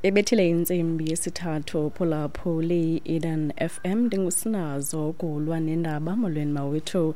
Ebethile intsimbi yesithathu phulaphuli Eden FM, ndingusinazo kulwa nendaba. Molweni mawethu.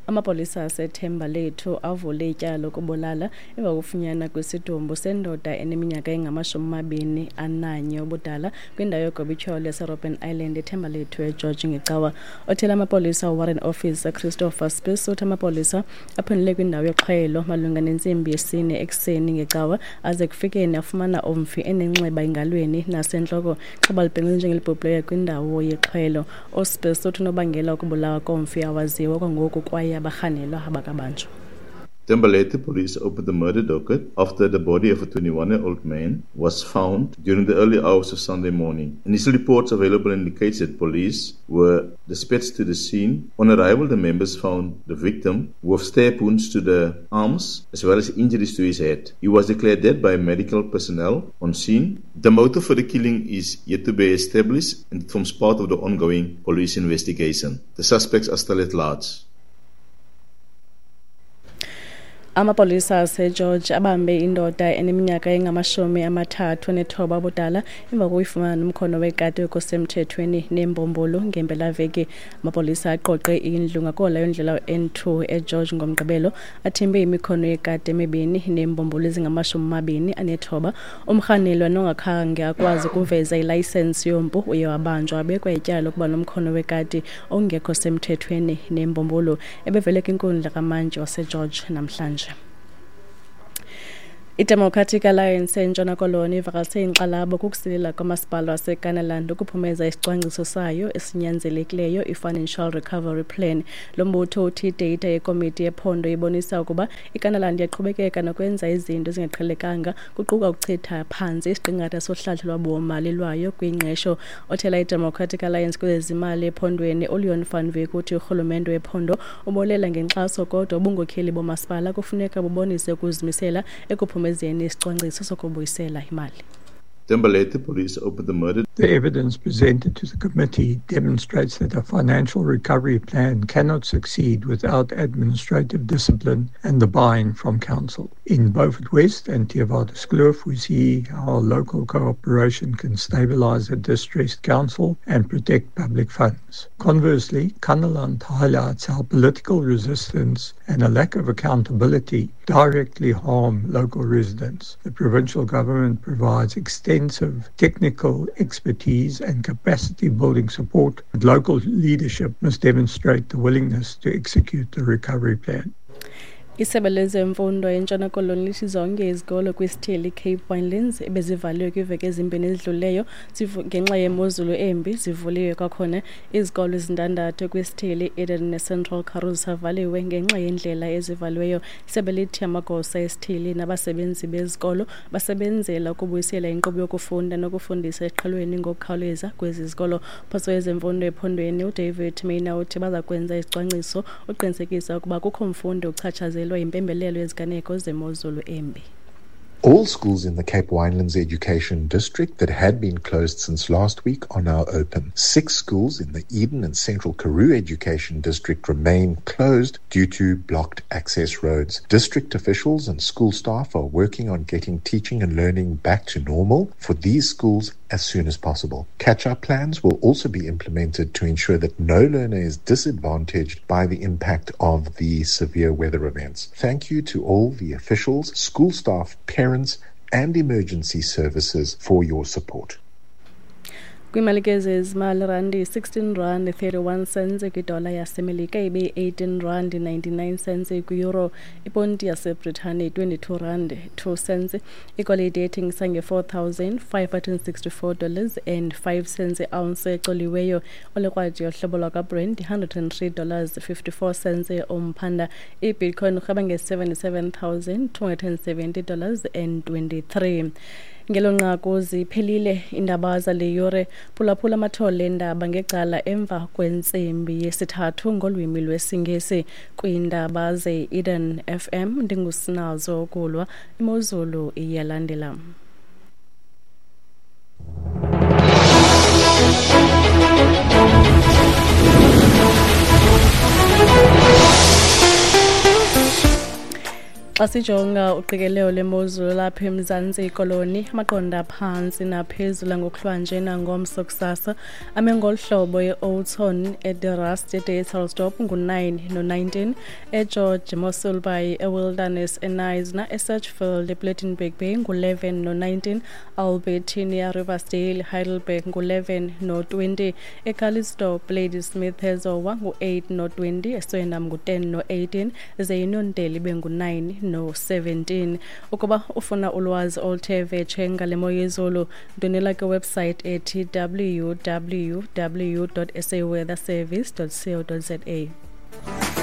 Amapolisa aseThemba Lethu avule ityala lokubulala emva kokufunyanwa kwesidumbu sendoda eneminyaka engama-21 ubudala kwindawo yogobityholo yaseRobben Island eThemba Lethu eGeorge ngeCawa. Othela amapolisa uWarrant Officer Christopher Spies uthi amapolisa aphendule kwindawo yoxhwayelo malunga nentsimbi yesine ekuseni ngeCawa, aze kufikeni afumana umfi enenxeba engalweni nasentloko. Ixhoba libhenqwe njengelibhubhileyo kwindawo yexhwayelo. USpies uthi unobangela wokubulawa komfi awaziwa kwangoku kwaye abarhanelwa abakabanjwa. Thembalethu police opened the murder docket after the body of a 21-year-old man was found during the early hours of Sunday morning. Initial reports available indicates that police were dispatched to the scene. On arrival, the members found the victim with stab wounds to the arms as well as injuries to his head. He was declared dead by medical personnel on scene. The motive for the killing is yet to be established and it forms part of the ongoing police investigation. The suspects are still at large. Amapolisa aseGeorge abambe indoda eneminyaka engama-39 ubudala emva kokuyifumana nomkhono wekati okusemthethweni neembumbulu ngempelaveki. Amapolisa aqoqe indlu ngakola yondlela N2 eGeorge ngoMgqibelo, athimbe imikhono yekati emibini neembumbulu ezingama-29. Umrhanelwa nongakhange akwazi ukuveza ilayisensi yompu uye wabanjwa wabekwa ityala lokuba nomkhono wekati ongekho semthethweni neembumbulu. Ebevele kwinkundla kamantyi waseGeorge namhlanje. IDemocratic Alliance eNtshona Koloni ivakalise inkxalabo kukusilela kwamasipala waseKanaland ukuphumeza isicwangciso sayo esinyanzelekileyo i-Financial Recovery Plan. Lo mbutho uthi ideyitha yekomiti yephondo ibonisa ukuba iKanaland iyaqhubekeka nokwenza izinto ezingaqhelekanga, kuquka ukuchitha phantsi isiqingatha sohlahlo lwabiwomali lwayo kwingqesho. Othela iDemocratic Alliance kwezezimali ephondweni uLeon van Wyk uthi urhulumente wephondo ubolela ngenkxaso, kodwa ubunkokheli bomasipala kufuneka bubonise ukuzimisela ekuphumezeni isicwangciso sokubuyisela imali. Thembalethu police opened the murder. The evidence presented to the committee demonstrates that a financial recovery plan cannot succeed without administrative discipline and the buy-in from council. In Beaufort West and Theewaterskloof, we see how local cooperation can stabilize a distressed council and protect public funds. Conversely, Kannaland highlights how political resistance and a lack of accountability directly harm local residents. The provincial government provides extensive technical expertise and capacity building support, but local leadership must demonstrate the willingness to execute the recovery plan. Isebe lezemfundo eNtshona Koloni lithi zonke izikolo kwisithili Cape Winelands ebezivaliwe kwiiveki ezimbini ezidlulileyo ngenxa yemozulu embi zivuliwe kwakhona. Izikolo ezintandathu kwisithili Eden neCentral Karoo zisavaliwe ngenxa yeendlela ezivaliweyo. Isebe lithi amagosa esithili nabasebenzi bezikolo basebenzela ukubuyisela inkqubo yokufunda nokufundisa esiqhelweni ngokukhawuleza kwezi zikolo. Phoso wezemfundo ephondweni uDavid Maynier uthi baza kwenza isicwangciso uqinisekisa ukuba kukho mfundi uchatshazelwa yimpembelelo yeziganeko zemozulu embi. All schools in the Cape Winelands Education District that had been closed since last week are now open. 6 schools in the Eden and Central Karoo Education District remain closed due to blocked access roads. District officials and school staff are working on getting teaching and learning back to normal for these schools as soon as possible. Catch-up plans will also be implemented to ensure that no learner is disadvantaged by the impact of the severe weather events. Thank you to all the officials, school staff, parents, and emergency services for your support. Kwimali ke zezimali, randi 16 rand 31 cents kwidola yaseMelika, ibe 18 rand 99 cents kwi-euro, iponti yaseBritane 22 rand 2 cents, igolide ethengisa nge-$4,564 dollars and 5 cents i-ounce ecoliweyo, olekrwaji yohlobo lwakwaBrent $103 dollars 54 cents umphanda, ibitcoin urheba nge-$77,270 dollars and 23. Ngelo nqaku ziphelile iindaba zale yure. Phulaphula amathole endaba ngecala emva kwentsimbi yesithathu ngolwimi lwesiNgesi. Kwiindaba ze-Eden FM ndingusinazo kulwa. Imozulu iyalandela. Xa sijonga uqikelelo lwemozulu lapha eMzantsi Koloni, amaqondo aphantsi naphezulu ngokuhlwanje nangomso kusasa ame ngolu hlobo: e-Oudtshoorn, eDe Rust, eBethelsdorp ngu-9 no-19, eGeorge, Mossel Bay, eWilderness, eKnysna, eSedgefield, ePlettenberg Bay ngu-11 no-19, Albertinia, Riversdale, Heidelberg ngu-11 no-20, eCalitzdorp, Ladysmith, eZowa ngu-8 no-20, eSwellendam ngu-10 no-18, ze iNondeli ibe ngu-9 no-17. Ukuba ufuna ulwazi oluthe vetshe ngale mo yezulu, ndwendwela kwiwebsite ethi www.saweatherservice.co.za.